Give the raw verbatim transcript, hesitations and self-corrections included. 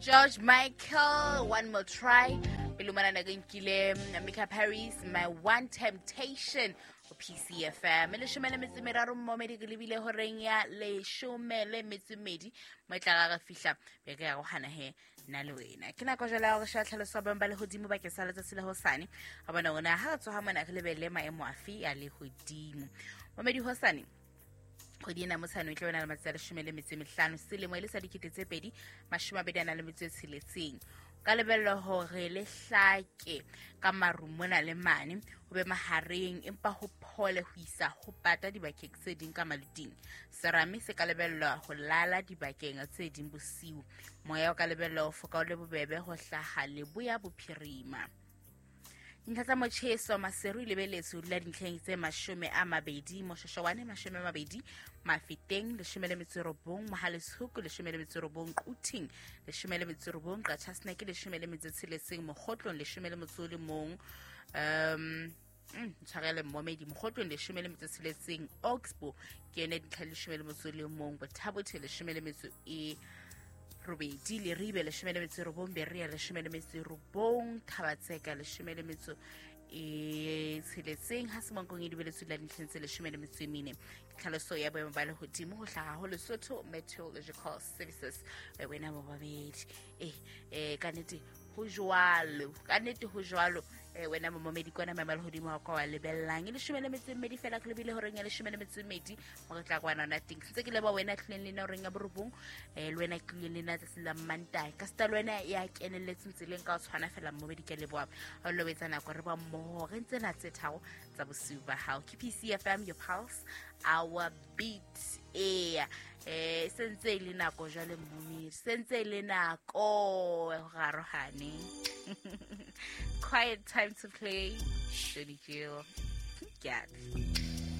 George Michael, One More Try. Pele mona ke nkile Mika Paris, My One Temptation ho P C F M. Leshome le metso e meraro mmomedi ke lebile horeng ya leshome le metso e mmedi mo e tla re fihla be ke ya go hana he nna le wena. Ke nako jwale ya hore sheba tlhaloso ya boemo ba lehodimo bakeng sa letsatsi la hosane. Ha bona ona ha re tsoha mona re lebelle maemo afe a lehodimo. Momedi hosane kgwedi ena motshano e tla bana le matsatsi a leshome le metso e mehlano selemo e le sa dikete tse pedi mashome a mabedi a nang le metso e tsheletseng. Ka lebellwa hore le hlake ka maru mona le mane ho be mahareng empa ho phole ho isa ho pata dibakeng tse ding ka maluting. Serame se ka lebellwa ho lala dibakeng tse ding bosiu. Moya o ka lebellwa ho foka o le bobebe ho hlaha leboya bophirima. Dintlha tsa motjheso Maseru e lebeletswe ho dula dintlheng tse mashome a mabedi, Moshoeshoane mashome a mabedi, Mafeteng leshome le metso e robong, Mohale'shoek leshome le metso e robong, Quthing leshome le metso e robong, Qacha's Nek leshome le metso e tsheletseng, Mokgotlong leshome le motso o le mong, um ntshwarele mmomedi, Mokgotlong leshome le metso e tsheletseng, Oxbow ke yone dintlha leshome le motso o le mong, Botha-Bothe leshome le metso e robedi, Leribe leshome le metso e robong, Berea leshome le metso e robong, Thaba-Tseka leshome le metso e tsheletseng, ha Semonkong e dubeletswe la dintlheng tse leshome le metso e mene. Tlhaloso ya boemo ba lehodimo ho hlaha ho Lesotho Meteorological Services. E wena bo babedi eh eh ka nnete ho jwalo, ka nnete ho jwalo. Eh wena momedi kwana maemo a lehodimo ha o ka wa lebellang. E leshome le metso e mmedi fela ke lebile horeng ya leshome le metso e mmedi mo re tla kwana hona teng. Ntse ke leboha wena tlileng le nna horeng ya borobong, eh le wena tlileng le nna tsatsing la Mantaha. Ka seta le wena ya kenelletseng tseleng ka ho tshwana fela momedi ke leboha. Ha o lo etsa nako re ba mmoho re ntse na tse tharo tsa bosiu ba hao. Ke P C F M, your pulse, our beat. Eya, eh sentse e le nako jwale momedi, sentse e le nako ho arohane. Quiet time to play. Johnny Gill. Get.